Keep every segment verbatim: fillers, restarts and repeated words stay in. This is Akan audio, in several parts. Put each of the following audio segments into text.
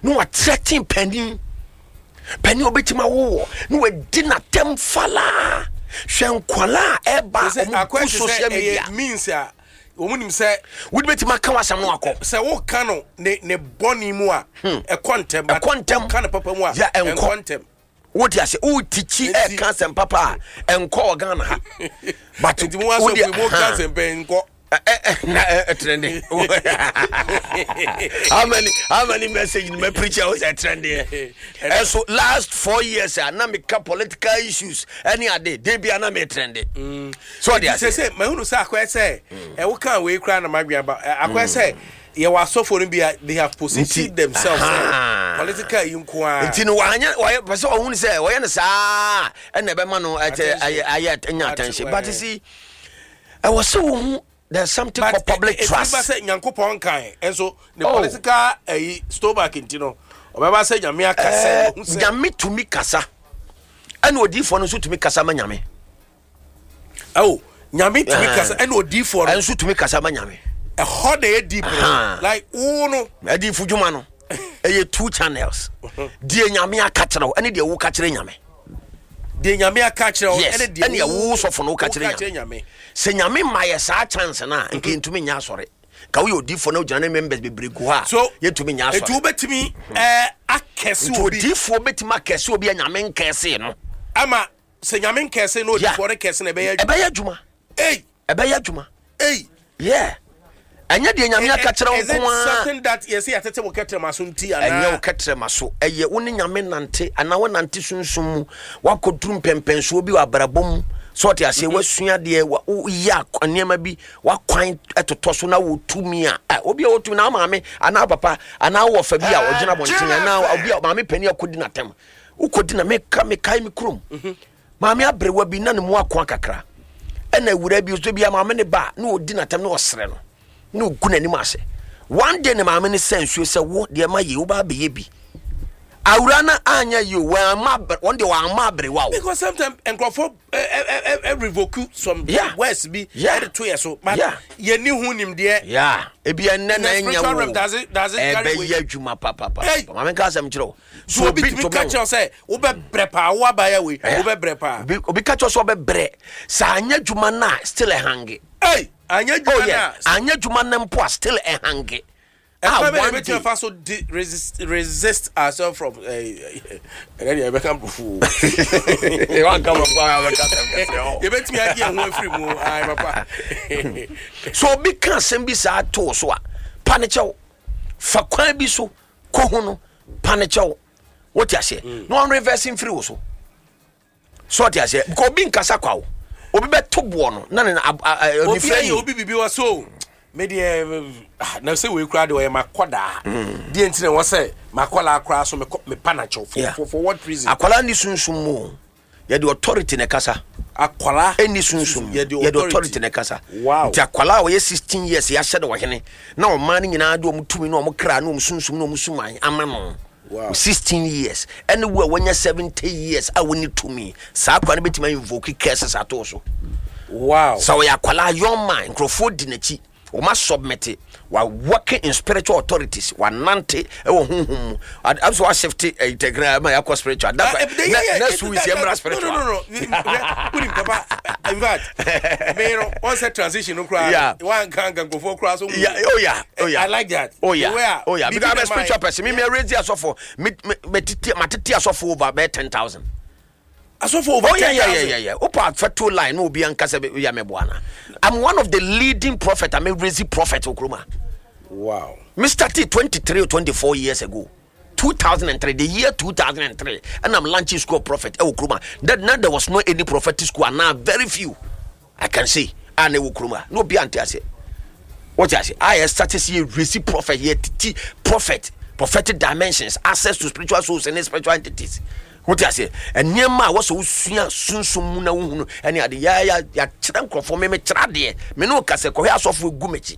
Na watrɛten panin panin a obɛtumi awowɔ na wadi n'atɛm falaa. Hwɛ nkwalaa a ɛba sɛ ɔmo akɔyɛ gu te sɛ social media. Ɛyɛ means a wɔn nim sɛ wode bɛtumi aka w'asɛm no akɔ. Sɛ woka no ne ne bɔne mu a, ɛkɔ ntɛm, but Ɛkɔ ntɛm. woka no papa mu a, Yeah, ɛnkɔ. ɛnkɔ ntɛm. Wote ase, wotikyi Nti- ɛka asɛm papa a, ɛnkɔ wɔ Ghana ha, but nti mo asɔfo yi, mo ka asɛm pɛ nkɔ. Ɛ- ɛ- ɛ, na ɛ- ɛtrend. how many how many message ni mɛ preach a o sɛ trend yɛ? Ɛso last four years a na meka political issues ɛne ade de bia na me trend so ɔde sɛ ase. Sɛ mahunu sɛ akɔyɛ sɛ ɛwo ka wei koraa na madwene aba. Ɛ, akɔyɛ sɛ yɛwɔ asɔfo no bi a they have positioned Nti- themselves sɛ aha. political yi nko a. Nti no wanyɛ, wɔyɛ pɛ sɛ ɔhunu sɛ wɔyɛ no saa ɛna ɛbɛma no ɛkyɛ Attention. ayɛ ayɛ nya attention, but eh. you see, ɛwɔ sɛ wohu there's something called public trust. Ɛtumi ba sɛ Nyankopɔn kan ɛnso ne Oh. political ɛyi stomach nti no ɔbɛba sɛ Nyame aka sɛ Ɛɛ, ɔhu sɛ Nyame tumi kasa, ɛna odiifoɔ no nso tumi kasa ma Nyame. Oh, Nyame tumi Eh. kasa ɛna odiifoɔ no ɛnso tumi kasa ma Nyame. Ɛhɔ na ɛyɛ deep no. Aha. Like wo no Adiifo dwuma no ɛyɛ two channels: deɛ Nyame aka kyerɛ wo ɛne deɛ woka kyerɛ Nyame. Deɛ Nyame aka kyerɛ wo Yes, ɛne deɛ ɛne wo sɔfo no woka kyerɛ woka kyerɛ Nyame. Sɛ Nyame ma yɛ saa chance no a, nka yɛntumi nyɛ asɔre ka woyɛ odiifoɔ na wogyina ne members bebree gu hɔ a, So yɛntumi nyɛ nti asɔre. Wobɛtumi ɛɛ akɛse Nti obi odiifoɔ bɛtumi akɛse obi a Nyame nkɛse no. Ama sɛ Nyame nkɛse na Yeah. odiifoɔ no kɛse na ɛbɛyɛ adwuma. Ɛbɛyɛ adwuma. Ei! Ɛbɛyɛ adwuma. Ei! Yeah, ɛnyɛ deɛ Nyame aka kyerɛ wo Is it nko a. something that yɛsɛ yɛtete wo kɛtrɛma so nti Ɛnyɛ wo anaa? kɛtrɛma so. Ɛyɛ wo ne Nyame nante anaa wonante sunsum mu, woakɔduru mpɛmpɛnsoɔ bi wɔ abrabɔ mu sɛ ɔte aseɛ, woasua deɛ wa- woyɛ ak- nneɛma bi, woakwan ɛtotɔ so na wɔtumi a ɛ, obi a wɔtumi na wo maame anaa wo papa anaa wowɔ fa bi a ɔgyina abɔnten anaa obi a maame pani akɔdi n'atɛm, wokɔdi na meka mekae me kurom maame aberewa bi na ne mu akoa kakra, ɛna awura bi so bia maame ne ba na ɔdi n'atɛm na ɔsrɛ no na ɔgu n'anim ase. One day ne maame ne sɛ nsuo sɛ wo deɛ ma yie wobaa bɛyɛ bi awura no anyɛ yie o, wɔamma abre- wɔn deɛ wɔamma aberewa o. Because sometimes nkurɔfoɔ ɛ ɛ ɛ ɛ revoke some Yeah. words bi Yeah. ɛde to yɛ so, but Yeah. yɛni ho nimdeɛ. Ya, ebi ɛnɛ na In the ɛnyɛ spiritual wo realm, does it- does it carry weight? ɛbɛyɛ adwuma papapa. Hey! Maame nka asɛm kyerɛ wo. So obi tumi ka kyerɛ wo sɛ wobɛbrɛ paa, wo abaya wei, Yeah. wobɛbrɛ paa. obi obi ka kyerɛ wo sɛ ɔbɛbrɛ sɛ anyɛ adwuma no a, still ɛhange. Ei, anyɛ Oh adwuma yeah, no a anyɛ adwuma no mpo a, still ɛhange. ɛkwan bɛ one yɛbɛtumi day afa so di resist resist ourselves from ɛɛ ɛnɛ deɛ yɛbɛka mpofu. Wanka mpofu a, wabɛka asɛm kɛseɛ hɔ. Yɛbɛtumi agye yɛn ho afiri mu ayi papa. So obi ka asɛm bi saa too so a, pa ne kyɛw, fa kwan bi so kɔ ho no, pa ne kyɛw, wote aseɛ, na ɔn reverse mfiri wo so so ɔte aseɛ, because obi nkasa kwa wo, obi bɛto boɔ no na ne na ab- a- a- Obi onifirani. ayɛ obi bibi wɔ so me deɛ ah, na sɛ wei koraa deɛ ɔyɛ makɔdaa deɛ nti na ɛwɔ sɛ makɔlaa koraa so mekɔ mepa nakyɛw for, Yeah. for, for what reason? Akwalaa ni sunsum mu o. Yɛde authority na ɛkasa. Akwalaa Ɛni sunsum mu. Yɛde Yɛde authority na ɛkasa. Wow. Nti akwalaa a ɔyɛ sixteen years yɛahyɛ no ɔhene na ɔman no nyinaa de ɔmo tumi ne ɔmo kra ne ɔmo sunsum ne ɔmo suman ama no. Wow. sixteen years ɛne wo a wanya seventy years a woni tumi saa akwa no bɛtumi invoke curses ato so. Wow. Sɛ ɔyɛ akwalaa, young man, nkurɔfoɔ di n'akyi, wɔma submit, wa working in spiritual authorities, wanante ɛwɔ honhom mu. Ad- am so washifte tɛkra ma yɛakɔ spiritual. That's Ah, why- eh, yeah, ne- yeah, next it- week that- yɛmmra that- spiritual. No, no, no, no. Wonim papa, in fact, me no, on set transition no koraa. Yeah. Wanka nka nkurɔfoɔ koraa so. Yeah, oh yeah, oh yeah. I like that. Oh yeah, The way a- oh yeah. biribi Because I'm na a spiritual ma- person. Me me raise asɔfo. Me me me tete matete asɔfo over bɛyɛ ten thousand. Asɔfo over Oh yeah, yeah, yeah, ten thousand. yeah, yeah. Opa feto line no obi ankasa be ya me boana. I'm one of the leading prophet. I'm a raise prophet okroma. Wow. Me started twenty-three or twenty-four years ago. two thousand three, the year two thousand three, and I'm launching school of prophet. Eh, Okroma. That now there was no any prophetic school, and now very few I can say. And Okroma. No be ante ase. What I say? I started see receive prophet here, t- prophet, prophetic dimensions, access to spiritual souls and spiritual entities. What I say? And nneɛma a wɔsɛ wosua sunsum mu na wohunu ɛne ade ya ya yɛakyerɛ nkurɔfoɔ me mekyerɛ adeɛ me ne wo kasɛ kɔhwɛ asɔfoɔ egu m'akyi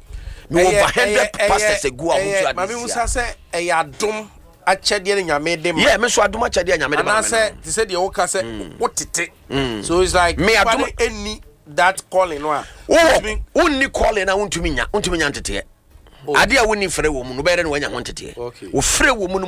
me Ɛyɛ- over hundred ɛyɛ- ɛyɛ- pastors egu a wɔn ɛyɛ- nso Maame ade Musa sia. sɛ ɛyɛ adom akyɛdeɛ ne Nyame de ma. Yeah, me nso adom akyɛdeɛ a Nyame de ma me no. Anaasɛ te sɛ deɛ woka sɛ wotete. So it's like Me nipa adom- no ɛnni that calling no a. Wowɔ wotumi- wonni calling na wontumi nya wontumi nya nteteɛ. Adeɛ a wonni frɛ wɔ mu no, wobɛyɛ dɛ na woanya ho nteteɛ? Okay. Wofrɛ wɔ mu no.